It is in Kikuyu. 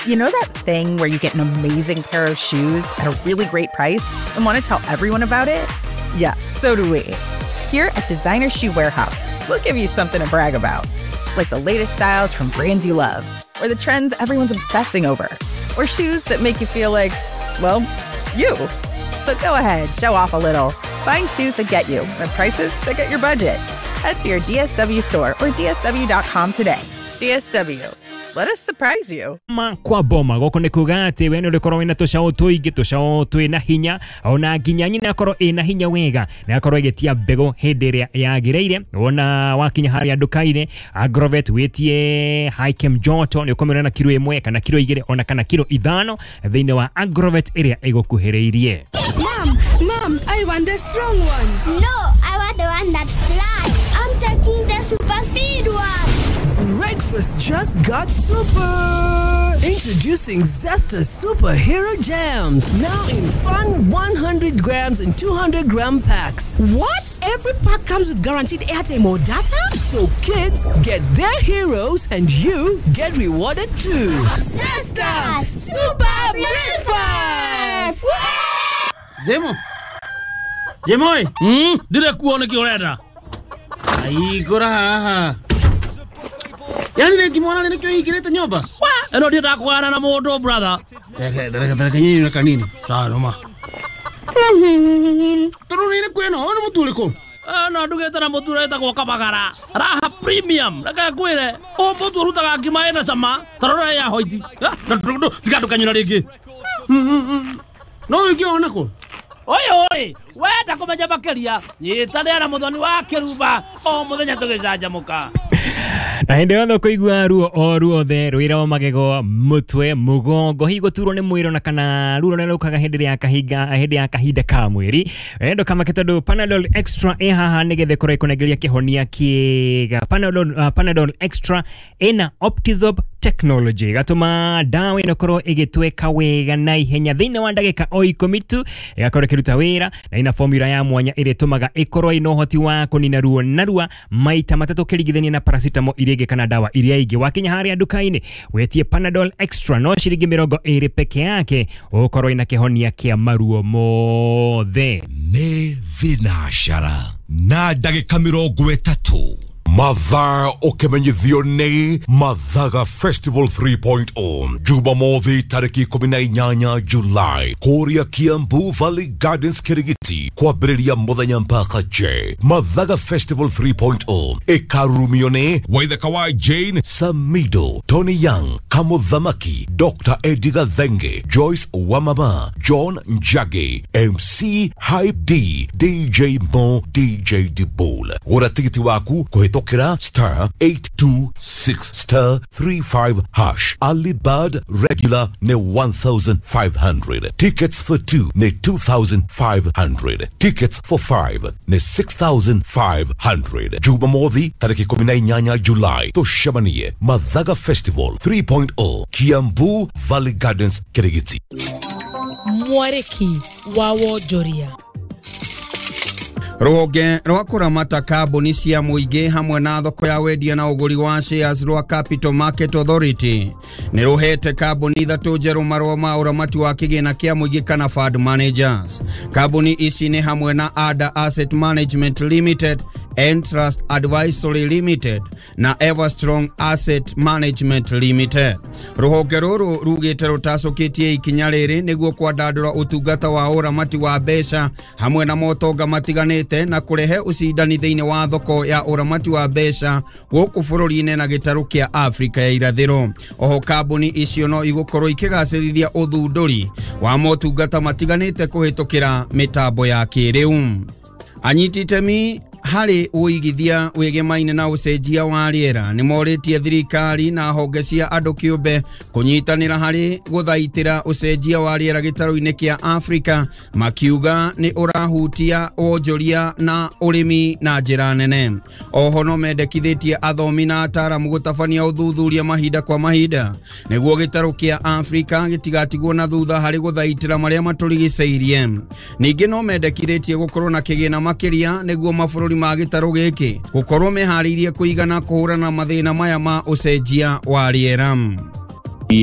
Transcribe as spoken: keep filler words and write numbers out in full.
You know that thing where you get an amazing pair of shoes at a really great price and want to tell everyone about it? Yeah, so do we. Here at Designer Shoe Warehouse, we'll give you something to brag about. Like the latest styles from brands you love, or the trends everyone's obsessing over, or shoes that make you feel like, well, you. So go ahead, show off a little. Find shoes that get you and prices that get your budget. Head to your D S W store or D S W dot com today. D S W. Let us surprise you. Ma kwa boma goko nĩ kuga atĩ we nĩ ũrĩkorwo wĩna tũcaũ tũingĩ, tũcaũ twĩna hinya, ona nginya nyina akorwo ĩna hinya wega na akorwo ĩgĩtia mbegũ hĩndĩ ĩrĩa yagĩrĩire. Wona wakinya harĩa nduka-inĩ Agrovet wĩtie Hikem Joto nĩ ũkũmĩona na kiro ĩmwe kana kiro igĩrĩ ona kana kiro ithano thĩinĩ wa Agrovet ĩrĩa ĩgũkuhĩrĩirie. Mom, mom, I want the strong one. No, I want the one that flies. I'm taking the super speed one. Breakfast just got super! Introducing Zesta Superhero Jams, now in fun one hundred grams and two hundred gram packs. What? Every pack comes with guaranteed airtime or data? So kids get their heroes and you get rewarded too. Zesta Super Breakfast! Jemo! Jemo! Hmm? Ndire kuo nĩkĩ ũrenda? Aigũra haha. Yani nikimwona nini kio hingirite nyumba? Eno ndienda kugana na mundu brother. Reke reke reke nyinyi na kanini. Sawa noma. Turu nini kweno ono mutu uriku? Eno ndugite na mutu wetagwo Kabagara. Raha premium. Reke ngwire o mutu urutaga ngima ina cama. Tarora ya hoiti. Tiga ndukanyura ringi. No wiki ona ko. Oyo oi, wenda kumenya makiria nyitanĩra na Muthoni wa Kĩrumba o mũthenya tũgĩcanjamũka. Na hĩndĩ yothe ũkũigua ruo o ruothe rwĩra wa magego, mũtwe, mũgongo, hihi gũturwo nĩ mwĩrĩ ona kana ruo rũrĩa rũkaga hĩndĩ ya kahinga hĩndĩ ya kahinda ka mwĩrĩ, wendo kamake tondũ Panadol Extra ĩ haha nĩgetha ĩkorwo ĩkũnengeria kĩhonia kĩega. Panadol, uh, Panadol Extra ĩna Optizorb technology gatuma dawa ĩno ĩkorwo ĩgĩtweka wega na ihenya thĩinĩ wa ndagĩka o ikũmi tu, ĩgakorwo ĩkĩruta wĩra na ina formula ya mwanya ĩrĩa ĩtũmaga ĩkorwo ĩna ũhoti wa kũnina ruo narua maita matatũ ũkĩringithania na paracetamol iria ingĩ kana dawa iria ingĩ. Wakinya harĩa nduka-inĩ wetie Panadol Extra no ciringi mĩrongo ĩrĩ peke yake ũkorwo ĩna kĩhonia kĩa maruo mothe. Nĩ thinacara na ndagĩka mĩrongo ĩtatũ. Mathaa ũkĩmenyithio nĩ Mathaga Festival three point oh Jumamothi tarĩki ikũmi na inyanya July kũrĩa Kiambu Valley Gardens Kirigiti kwambĩrĩria mũthenya mpaka J. Mathaga Festival three point oh ĩkarurumio nĩ Waithaka wa Jane Samido, Tony Young, Kamuthamaki, Doctor Eddie Gathenge, Joyce Wamama, John Njagi, M C Hype D, D J Mo, D J Dibol. Gũra tigiti waku kũhĩtũkĩra star eight two six star three five hash. Early bird regular ne one thousand five hundred. Tickets for two ne two thousand five hundred. Tickets for five ne six thousand five hundred. Jumamothi tariki ikũmi na inyanya July tũcemanie Mathaga Festival three point oh Kiambu Valley Gardens Kirigiti. Mwariki wa wonjoria. Rũhonge rwa kũramata kambuni cia mũingĩ hamwe na thoko ya wendia na ũgũri wa shares rwa Capital Market Authority nĩ rũhete kambuni ithatũ njerũ marũa ma ũramati wa kĩgĩna kĩa mũingĩ kana fund managers. Kambuni ici nĩ hamwe na Ada Asset Management Limited, Entrust Advisory Limited na Everstrong Asset Management Limited. Rũhonge rũrũ rugĩte rũtacũkĩtie ikinya rĩrĩ nĩguo kwandandũra ũtungata wa ũramati wa mbeca hamwe na motonga matiganĩte na kũrehe ũcindani thĩinĩ wa thoko ya ũramati wa mbeca gũkũ bũrũri-inĩ na gĩtarũ kĩa Afrika ya irathĩro. Oho kambuni icio no igũkorwo ikĩgacĩrithia ũthundũri wa motungata matiganĩte kũhĩtũkĩra mĩtambo ya kĩrĩu. Anyiti itemi harĩ ũigithia wĩgemaine na ũcenjia wa rĩera nĩ morĩtie thirikari na honge cia andũ kĩũmbe kũnyitanĩra harĩ gũthaitĩra ũcenjia wa rĩera gĩtarũ-inĩ kĩa Afrika, makiuga nĩ ũrahutia wonjoria na ũrĩmi na njĩra nene. Oho no mendekithĩtie athomi na ataaramu gũtabania ũthuthuria mahinda kwa mahinda nĩguo gĩtarũ kĩa Afrika gĩtigatigwo na thutha harĩ gũthaitĩra marĩa matũrigicĩirie. Ningĩ no mendekithĩtie gũkorwo na kĩgĩna makĩria nĩguo mabũrũri ma gĩtarũ gĩkĩ gũkorwo meharĩirie kũigana kũhũrana mathĩna maya ma ũcenjia wa rĩera. The, uh,